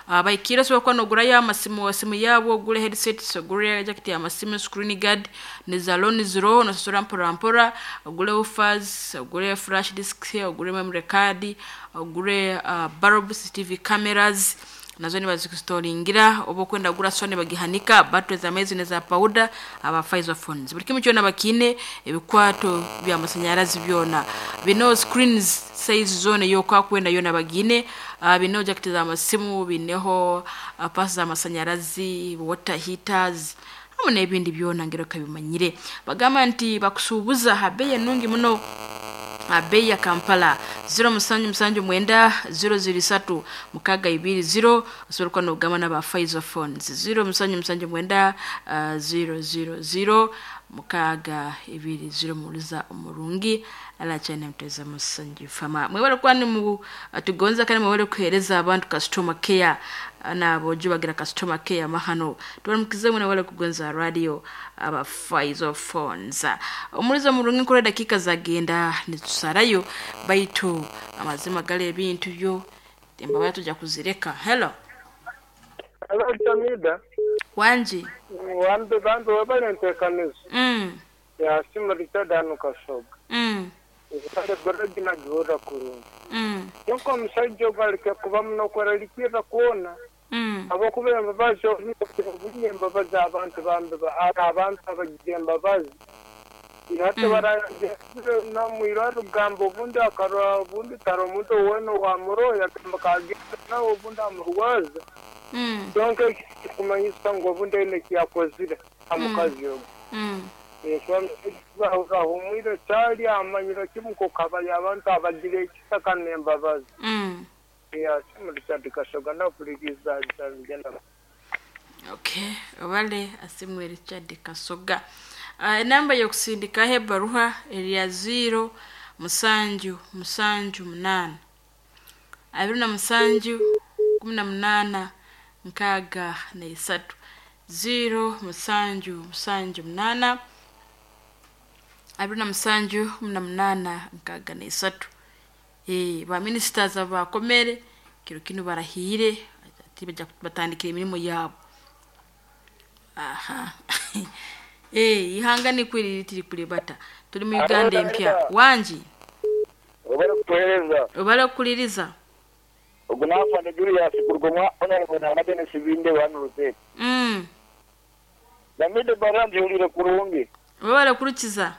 Baikire osobola kuba nogurayo amasimu simu yabo, ogure headsets, ogure jacket y'amasimu, screen guard, neza loan ziroho nosasura mpora mpora, ogure woofers, ogure flash disk, ogure memory card, ogure bulb, CCTV cameras nazo nibazikustoringira oba okwenda kugura Sony bagihanika, battery z'amaizi neza powder, aba Faizo phones buri kimwe kyona bakiine, ebikwato by'amasanyarazi byona bineho screens size zoona ei okwakwenda yoona bagiine, bineho jacket z'amasimu, bineho paasi z'amasanyarazi, water heaters hamwe n'ebindi byona ngira okabimanyire. Bagamba nti bakusuubuza ha beeyi enungi muno ha beeyi ya Kampala 0779 003 620 osobola kuba nogamba n'aba Faizo phones 0779 000 620 muhuriza omurungi arakyari muteza musanju fama. Mwebale kuba nimutugonza kandi mwebale kuheereza abantu customer care n'aboojo bagira customer care mahano. Tubaramukize mwena mwebale kugonza radio aba Faizo phones. Omuhuriza omurungi nkurora edakiika zagenda nitusarayo baitu amazima gari ebintu byo embabazi tujja kuzireka. Hello. Hello Jamida. Wangi. Wambe bambi webale entekaniza. Yasiima Richard hanu Kasoga. Kale goragi nagihurra kurungi. Kyonka omusaija ogu aleke kuba muno kwerarikirra kwona habwokuba embabazi obu embabazi abantu bambi haroho abantu abagira embabazi. Hati nomwirwarro kugamba obundi akarora obundi taroho omuntu weena owaamuroho yagamba kagenda nawe obundi amurwaza. Kyonka eki tikikumanyisa ngu obundi aine eki yakozire ha mukazi ogu. Ahumwire caali amanyire kimu nk'oku habayo abantu abagira ekisa kandi n'embabazi. Asiimwe Richard Kasoga nakuhurikiize nigenda. Okay, obale Asimwe Richard Kasoga. Enamba y'okusindikaho ebaruha eri ya 0 musanju musanju munaana 27 18 63 0 musanju musanju munaana 27 18 63. Ba ministers abakomere kiro kinu barahiire ati batandikire emirimo yaabo. Aha eihanga nikwo riri tirikuribata turi mu Uganda empya. Wangi. Obale kutuheereza. Obale kukuliriza. Ogu n'afande Julius kuruga omwa Honourable Nana Denis Binde hanu Ruteete. Namide ebbaruha ngihuliire kurungi. Webale kurukiza.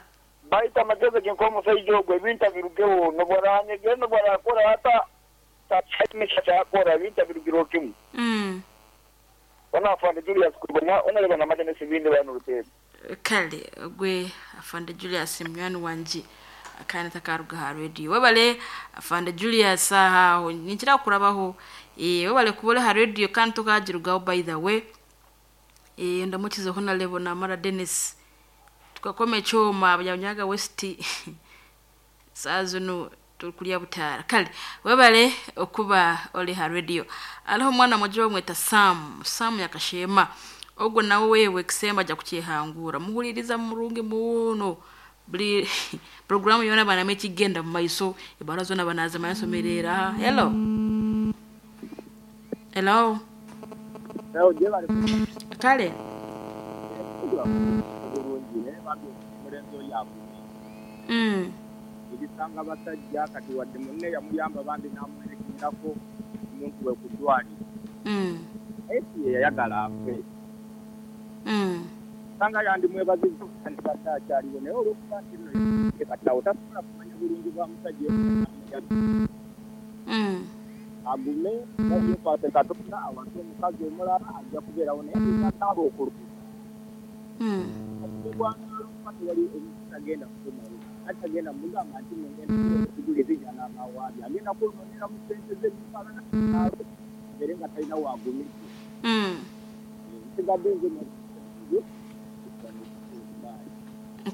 Baitu amagezi ge nk'omusaija ogu ebintu abirugeho n'obu aranyegere n'obu arakora ata taine eki akora ebintu abirugireho kimwe. Hono Afande Julius kuruga omwa Honourable Nana Denis Binde hanu Ruteete. Kale ogwe Afande Julius munywani wangye kandi takaruga aha radio. Webale Afande Julius aha aho ninkira kukurabaho. Webale kuba ori aha radio kandi tokagirugaho by the way. Ndamukize Honourable Namara Denis. Tukakoma ekyoma Byanyaga West saaha zinu turikurya butaara. Kale webale okuba ori aha radio. Hariho omwana mwojo bamweta Sam, Sam Nyakasheema. Ogwo nawe wewe ekisembo aja kukyehangura. Muhuririza murungi muno. Buri puroguramu yoona aba naamanya ekikugenda omu maiso, ebaruha zoona aba naazimanya asomereire aha. Hello. Hello. Kale.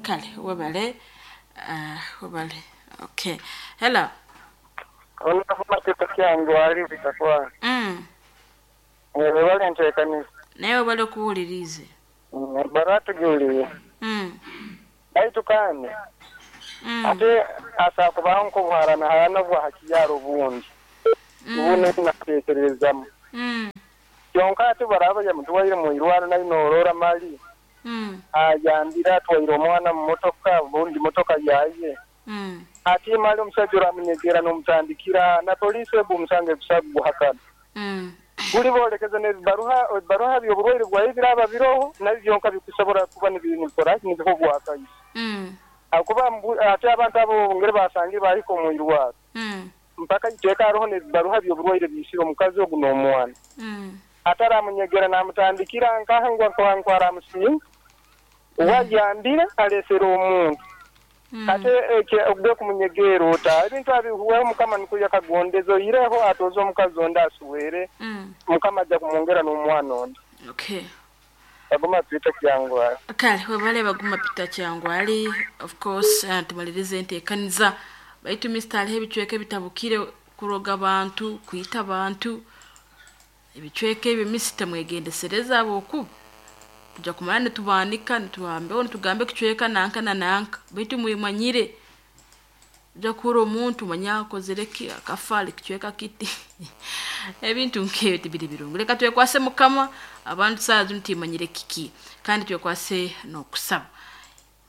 Kale webale webale okay. Hello. Webale nteekaniza. Naye webale okuwuliriize. Ebbaruha tugihuliire. Baitu kandi ate asobola kubaho nk'obuharanaharana obwa ha kiyaara obundi. Obu nateekererezamu. Kyonka ati baraaba yamutwaire mu irwaro nayo norora mali ayambire atwaire omwana mu motoka obundi motoka yaye. Ati mali omusaija oramunyegera nomutandikira na poliisi egu omusango egusa kuguhakana. Buli bolekeze nebibaruha ebibaruha byoburwaire bwaye biraba biroho nabyo byonka bikusobora kuba nibikora ki nibiha obwakaiso. Ahakuba ati abantu abo ngeri basangire bahika omu irwaro mpaka iteeka haroho nebibaruha byoburwaire biisire omukazi ogu nomwana. Ati aramunyegera namutandikira nkaha ngu ngu aramusinga uwe ayambire alesere omuntu. Ate ogwe kumunyegeera ota? Ebintu abihuweho Mukama nikwo yakagondeze oihireho atooze omukazi ondi asuwere Mukama aja kumwongera nomwana ondi. Okay. Baguma Peter Kyangwali. Kale webale Baguma Peter Kyangwali of course tumalirize entekaniza baitu Mister hariho ebicweka ebitabukire kuroga abantu kwita abantu ebicweka ebyo Mister mwegendesereze ahabwokuba tuja kumara nitubaanika nituhambeho nitugamba ekicweka nanka na nanka baitu mwemanyire oja kuhurra omuntu manya akozire ki akafa ali kicweka kiti ebintu nk'ebyo tibiri birungi. Leka twekwase Mukama abantu saaha zinu timanyire kiki kandi twekwase n'okusaba.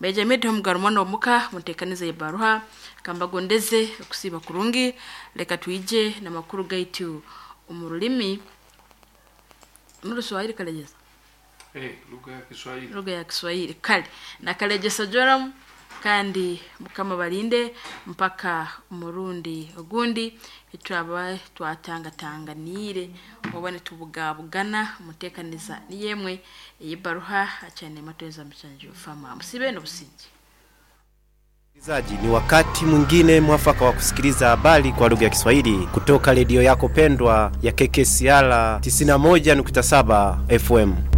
Benjamin Omugaru mwana omuka muntekaniza y'ebaruha kambagondeze okusiiba kurungi leka twije n'amakuru gaitu omu rulimi n'Oruswahili Kalegesa. Eh, lugha ya Kiswahili. Lugha ya Kiswahili kale na Kalegesa Joram kandi Mukama balinde mpaka omurundi ogundi twaba twatangatanganiire oba nitubugabugana muteekaniza niyo emwe ey'ebaruha akyane matweza muchanju fama musibe n'obusinge. Msikilizaji, ni wakati mwingine mwafaka wa kusikiliza habari kwa lugha ya Kiswahili kutoka redio yako pendwa ya KKCR 91.7 FM.